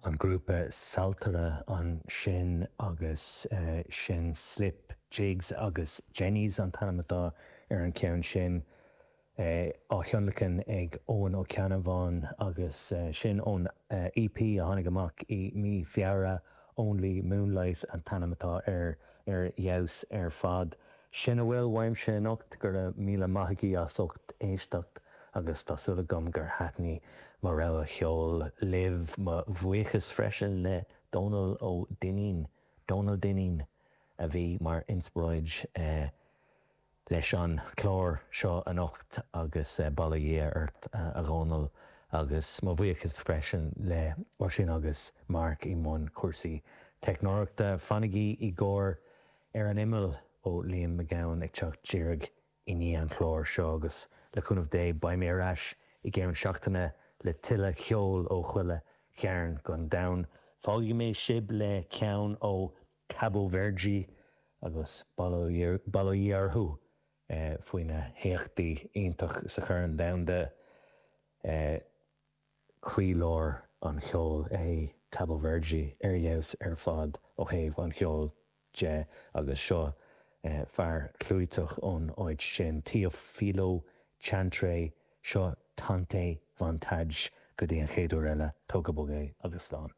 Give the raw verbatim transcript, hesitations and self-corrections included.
An grúpa Saltaire ansin agus sin Slip Jigs agus Jennies an t-ainm atá ar an ceann sin á thionlacan ag Eoin Ó Ceannabháin agus sin ón EP a tháinig amach i mí Feabhra Only Moonlight an t-ainm atá ar ar fheabhas ar fad. Sin a bhfuil uaimse anocht go raibh míle maith agaibh as ucht éisteacht agus tá súil agam gur thaitin mo rogha cheoil libh mo bhuíochas freisin le Dónal Ó Duinnín, Dónal Dineen a bhí mar inspioráid leis an chlár seo anocht agus bail ó Dhia ort a Dhónaill agus mo bhuíochas freisin le Oisín agus Mark i mbun cúrsaí teicneoireachta. Fanaigí i gcomhair ar an imeall ó Liam Mac Gabhann ag teacht díreach i ndiaidh an chláir seo agus le cúnamh Dé beidh mé ar ais i gceann seachtaine le tuilleadh ceoil ó chuile chearn den domhan. Fágfaidh mé sibh le ceann ó Cabo Verde agus bail ó Dhia orthu faoi na héachtaí iontach sa Chorn Domhanda croílár an cheoil é Cabo Verde ar fheabhas ar fad ó thaobh an cheoil de agus seo fear clúiteach ón áit sin Teofilo Chantre seo Tante Vontade go dtí an chéad uair eile tóg go bog é agus slán.